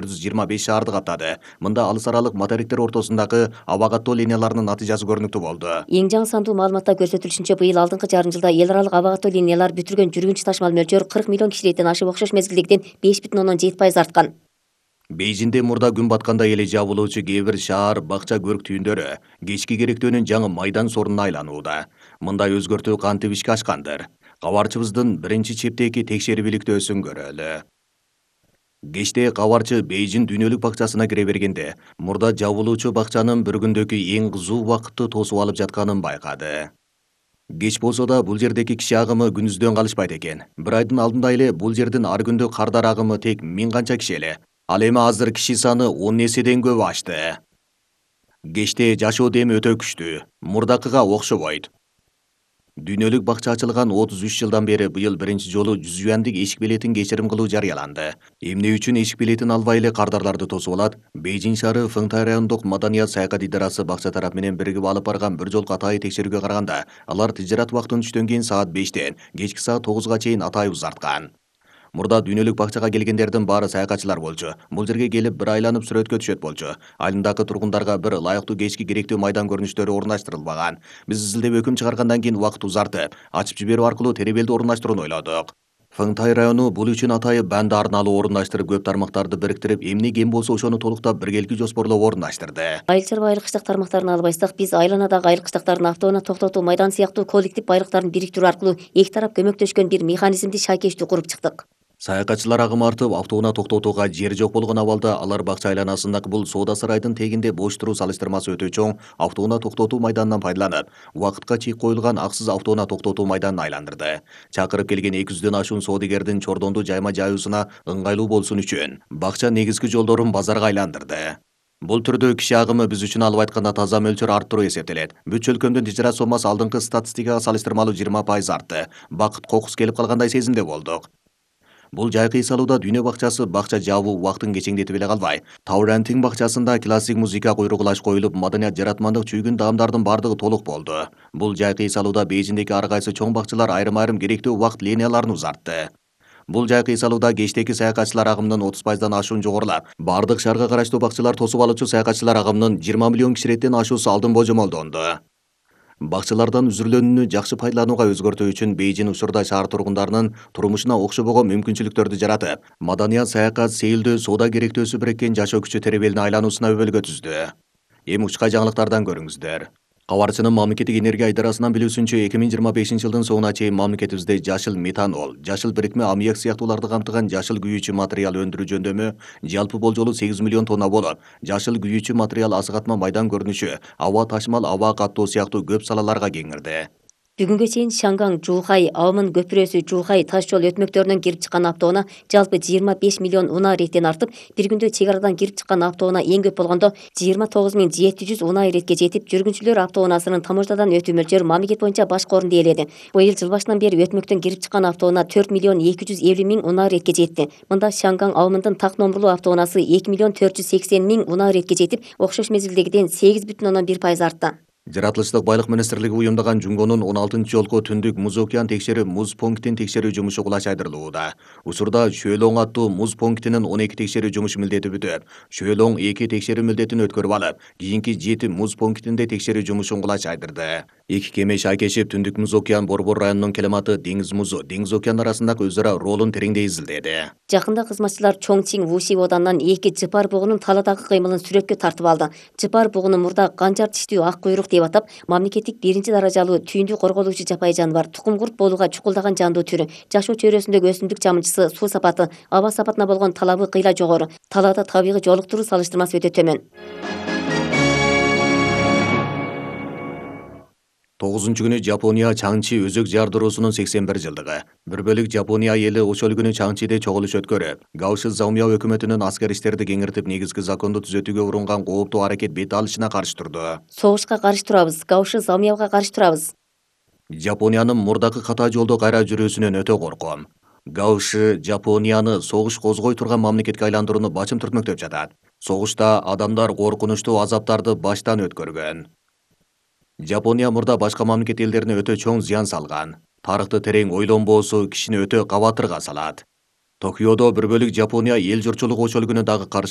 425 шаарды каптады. Мында алыс аралык материктер ортосундагы аба каттоо линияларынын натыйжасы көрүнүктүү болду. Эң жаңы сандуу маалыматта көрсөтүлүшүнчө, быйыл алдыңкы жарым жылда эл аралык аба каттоо линиялар бүтүргөн жүргүнчү ташмал мөлчөрү 40 миллион кишиликтен ашып, окшош мезгилдегиден 5,7% арткан. Бейжиңде мурда күн батканда эле жабылуучу кээ бир шаар бакча көрктүүндөрү кечки керектөөнүн жаңы майдан сорунуна айланууда. Мындай өзгөртүү кантип ишке ашкандыр? Кабарчыбыздын биринчи чептеги текшерип иликтөөсүн көрөлү. Кечте кабарчы Бейжиң дүйнөлүк бакчасына кире бергенде, мурда жабылуучу бакчанын бір күндөгү эң кызуу убакытты тосуп алып жатканын байкады. Кеч болсо да бул жердеги киши агымы күнүздөн калышпайт экен. Бир айдын алдында эле бул жердин ар күндүк кардар агымы тек 1000 канча киши эле. Ал эми азыр киши саны 10 эседен көп ашты. Кечте жашоо деми өтө күчтүү, мурдакыга окшобойт. Дүйнөлүк бакча ачылган 33 жылдан бери быйыл биринчи жолу 100 юандык эшик билетин кечирим кылуу жарыяланды. Эмне үчүн эшик билетин албай эле кардарларды тосуп алат? Бейжиң шаары Фыңтай райондук маданият саякат идарасы бакча тарап менен биригип алып барган бир жолку атайы текшерүүгө караганда, алар тижарат убактын түштөн кийин саат 5тен кечки саат 9га чейин атайы узарткан. Мурда дүйнөлүк бакчага келгендердин баары саякатчылар болчу. Бул жерге келип бир айланып сүрөткө түшөт болчу. Айылдагы тургундарга бир ылайыктуу кечки керектүү майдан көрүнүштөрү орундаштырылбаган. Биз изилдеп өкүм чыгаргандан кийин убакыт узартып, ачып жиберүү аркылуу теребелди орундаштырууну ойлодук. Фыңтай району бул үчүн атайы банд арналуу орундаштырып, көп тармактарды бириктирип, эмне кем болсо ошону толуктап биргелки жоспорлоп орундаштырды. Айыл чарба айлык тармактарын албайсак, биз айланадагы айлык автоунаа токтотуу майдан сыяктуу коллектив байлыктарын бириктирүү аркылуу эки тарап көмөктөшкөн бир механизмди шайкештүү куруп чыктык. Саякатчылар агымы артып, автоунаа токтотууга жер жок болгон абалда алар бакча айланасындагы бул соода сарайдын тегинде бош туруу салыштырмасы өтө чоң автоунаа токтотуу майданынан пайдаланып, убакытка чек коюлган аксыз автоунаа токтотуу майданын айландырды. Чакырып келген 200дөн ашуун соодагердин чордонду жайма жайуусуна ыңгайлуу болсун үчүн бакча негизги жолдорун базарга айландырды. Бул түрдө киши агымы биз үчүн алып айтканда таза мөлчөр арттыруу эсептелет. Бүт чөлкөмдүн тижарат сомасы алдыңкы статистикага салыштырмалуу 20% артты. Бакыт кокус келип калгандай сезимде болдук. Бул жайкы эс алууда дүйнө бакчасы бакча жабуу убактын кечеңдетип эле калбай, Таурантинг бакчасында классик музыка койругулаш коюлуп, маданият жаратмандык чүйгүн даамдардын бардыгы толук болду. Бул жайкы эс алууда Бейжиңдеги ар кайсы чоң бакчалар айрым-айрым керектүү убакыт линияларын узартты. Бул жайкы эс алууда кечтеги саякатчылар агымынын 30%дан ашуун жогорулап, бардык шаарга караштуу бакчалар тосуп алуучу саякатчылар агымынын 20 миллион кишилеттен ашуусу алдын божомолдонду. Бакчалардан үзүрүлөнүүнү жакшы пайдаланууга өзгөртүү үчүн Бейжиң учурда шаар тургундарынын турмушуна окшобогон мүмкүнчүлүктөрдү жаратып, маданият, саякат, сейилдөө, соода керектөөсү бириккен жашоо күчү теребелине айлануусуна өбөлгө түздү. Эми учкай жаңылыктардан көрүңүздөр. Кабарчынын мамлекеттик энергия идарасынан билүүсүнчө, 2025-жылдын соңуна чейин мамлекетибизде жашыл метанол, жашыл бирикме аммиак сыяктууларды камтыган жашыл күйүүчү материал өндүрүү жөндөмү жалпы болжолу 8 миллион тонна болуп, жашыл күйүүчү материал асыгатма майдан көрүнүшү, аба ташмал, аба каттоо сыяктуу көп салаларга кеңирди. Бүгүнгө чейин Шанган, Жухай, Аомын көпүрөсү, Жухай таш жол өтмөктөрүнөн кирип чыккан автоунаа жалпы 25 миллион унаа иреттен артып, бир күндө чек арадан кирип чыккан автоунаа эң көп болгондо 29.700 унаа иретке жетип, жүргүнчүлөр автоунаасынын таможнядан өтүү мөлчөрү мамлекет боюнча башкы орунду ээледи. Быйыл жыл башынан бери өтмөктөн кирип чыккан автоунаа 4.250.000 унаа иретке жетти. Мында Шанган Аомындын так номурлуу автоунаасы 2.480.000 унаа иретке жетип, окшош мезгилдегиден 8,1% артты. Жаратылыштык байлык министрлиги уюмдаган Жунгонун 16-жолку түндүк муз океан текшерүү муз пунктин текшерүү жумушу кулач айдырылууда. Учурда Шөөлөң аттуу муз пунктинин 12 текшерүү жумушу милдети бүтүп, Шөөлөң 2 текшерүү милдетин өткөрүп алып, кийинки 7 муз пунктинде текшерүү жумушун кулач айдырды. Эки кеме шайкешип түндүк муз океан Борбор районунун Келематы деңиз музу, деңиз океан арасындагы өз ара ролун тереңдей изилдеди. Жакында кызматчылар Чоңчин Вуси оданынан 2 жыпар бугунун таладагы кыймылын сүрөткө тартып алды. Жыпар бугуну мурда канжар тиштүү ак куйрук деп атап, мамлекеттик 1-даражалуу түйүндү корголуучу жапайы жаныбар, тукум курт болууга чукулдаган жандуу түрү. Жашоо чөйрөсүндөгү өсүмдүк жамынчысы, суу сапаты, аба сапатына болгон талабы кыйла жогору. Талаада табигый жолуктуруу салыштырмасы өтө төмөн. 9-күнү Жапония Чаңчи өзөк жардыруусунун 81 жылдыгы. Бир бөлүк Жапония эли ошол күнү Чаңчиде чогулуш өткөрүп, Гаоши Заумяо өкмөтүнүн аскер иштерди кеңиртип, негизги законду түзөтүүгө урунган кооптуу аракет бет алышына каршы турду. Согушка каршы турабыз, Гаоши Заумяога каршы турабыз. Жапониянын мурдакы ката жолдо кайра жүрүүсүнөн өтө корком. Гаоши Жапонияны согуш козгой турган мамлекетке айландырууну бачым түртмөктөп жатат. Согушта адамдар коркунучтуу азаптарды баштан өткөргөн. Жапония мурда башка мамлекет элдерине өтө чоң зыян салган. Тарыхты терең ойлонбоосу кишини өтө кабатырга салат. Токиодо бір бөлік Жапония ел жұртшылық ошол күнү дагы каршылык